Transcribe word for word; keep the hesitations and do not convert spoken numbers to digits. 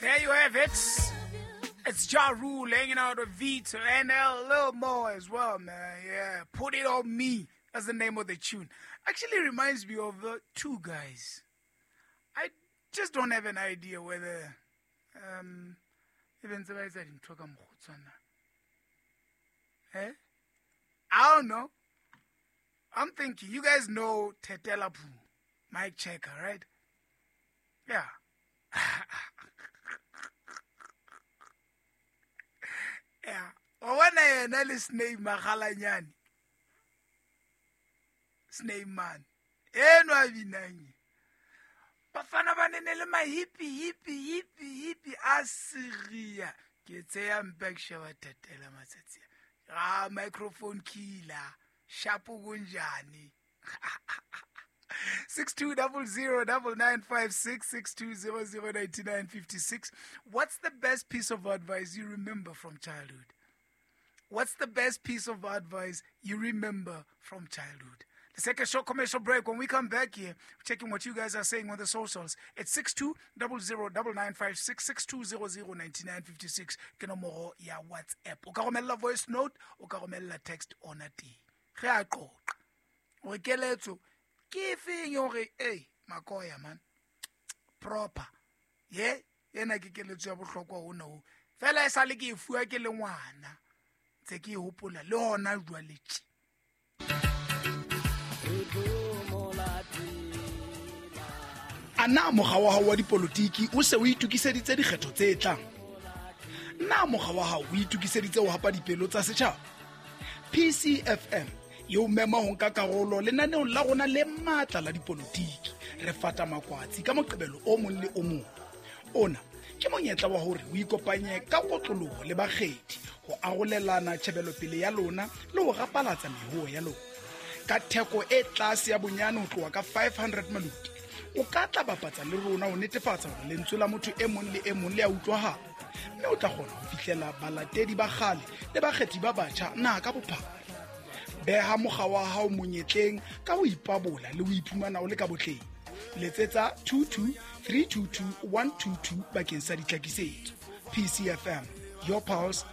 There you have it. It's Ja Rule hanging out with Vito and a little more as well, man. Yeah, Put It On Me. That's the name of the tune. Actually reminds me of the two guys. I just don't have an idea whether um even tse ba etsa dintho ka mokgwa Eh? I don't know. I'm thinking you guys know Tetela Poo, Mike Checker, right? Yeah. Yeah. Wa bona yena le Snake Magalanyane. Snake man. Eno a binang. Bafana ba nene le mahipi hipi hipi hipi a segia. Ke tseya mpa ke sheba Tetela matsatsi. Ah, microphone killer. Shapo kunjani. Six two double zero double nine five six six two zero zero ninety nine fifty six. What's the best piece of advice you remember from childhood? What's the best piece of advice you remember from childhood? Let's take a short commercial break. When we come back here, we're checking what you guys are saying on the socials. It's six two double zero double nine five six six two zero zero ninety nine fifty six. Ke nomoro ya WhatsApp. O ka romella voice note, o ka romella text ona teng. Re a qoqa. Hore keletso ke efeng hore ei makoya man proper ye ena ke keletso ya bohlokwa hona ho fela e sale ke e fuwa ke le ngwana ntse ke e hopola le hona jwale tje. A na mokga wa hao wa dipolotiki o se o itokiseditse dikgetho tse tlang? Na mokga wa hao o itokiseditse ho hapa dipelo tsa setjhaba? P C F M e o mema ho nka karolo lenaneong la rona le matla la dipolotiki. Re fata makwatsi ka Moqebelo o mong le o mong. Ona ke monyetla wa hore o ikopanye ka kotloloho le bakgethi ho arolelana tjhebelopele ya lona le ho rapalatsa mehoo ya lona. Ka theko e tlase ya bonyane ho tloha ka five hundred maluti, o ka tla bapatsa le rona ho netefatsa hore lentswe la motho e mong le e mong le a utlwahala, mme o tla kgona ho fihlela balatedi ba kgale le bakgethi ba batjha naha ka bophara. Beha mokga wa hao monyetleng ka ho ipabola le ho iphumana o le ka botleng. Letsetsa two two three two two one two two bakeng sa ditlhakisetso. P C F M, your pulse,